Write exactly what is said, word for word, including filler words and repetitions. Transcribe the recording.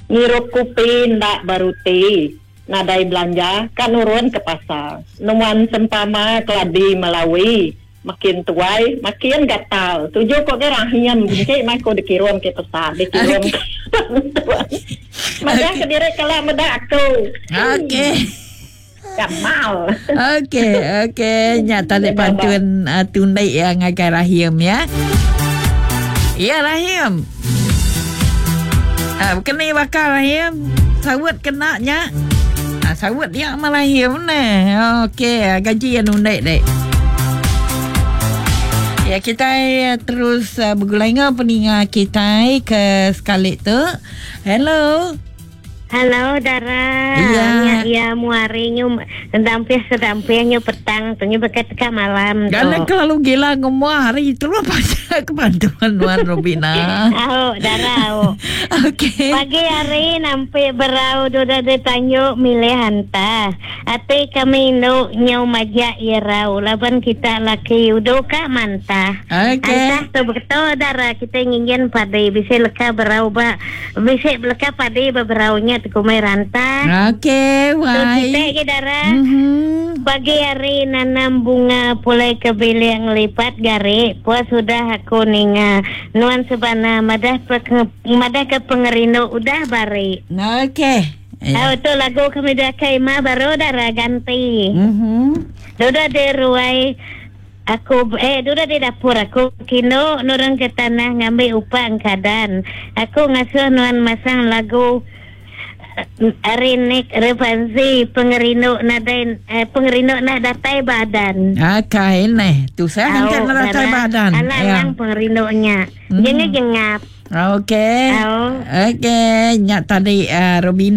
Ngirup kopi enda beruti. Nadai belanja ka nurun ke pasar. Nuan sempama keladi Melawi. Makin tuai makin gatal. Tuju ko ke Rahim benci meh aku dikirum ke pesan dikirum. Madah ke diri kala meda aku. Okey. Gamal. Okey, okey. Nya tali pantun uh, tundik ya ngagai Rahim ya. Ya Rahim. Ah, kena bakar Rahim. Sawut kena nya. Ah, sawut dia sama Rahim ne. Okey, gaji yang undik dek. Ya, kita terus uh, bergulai dengan peninga kita ke sekali tu. Hello. Halo Dara. Iya. Ya, ya muari nyu dampih sedampih nyu petang tu nyu bekat teka malam tu. Karena kelalu gila ngomong hari itu lah pasal kebantuan Wan Robina. Au Dara au. Okey. Pagi hari nampi berau duda ditanyu milih hanta. Ati kami nu nyu majak irau laban kita laki udu ka mantah. Okey. Antah tu betul Dara kita ngingin padi bisa leka berau ba bisa leka padi beraunya tekumai rantah. Okey, Tu wai. kita ke Dara. Mhm. Pagi hari nanam bunga pulai ke bilik ngelipat gari. Puas sudah aku ninga. Nuan sebana madah pe, madah ke pengerindu udah bari. Okey. Ya. Oh, tu lagu kami dah kaima baru Dara ganti. Mhm. Duda di ruai aku eh duda di dapur aku kino nurun ke tanah ngambil upah angkadan. Aku ngasuh nuan masang lagu Arinik Revanzi pengerindu nadai eh, pengerindu nak datai badan. Okey, ni. Tu saya kan nak datai badan. Alang Ya. lang pengerindunya. Hmm. Jengah jengap. Okey. Au. Okey, nyak tadi uh, Robina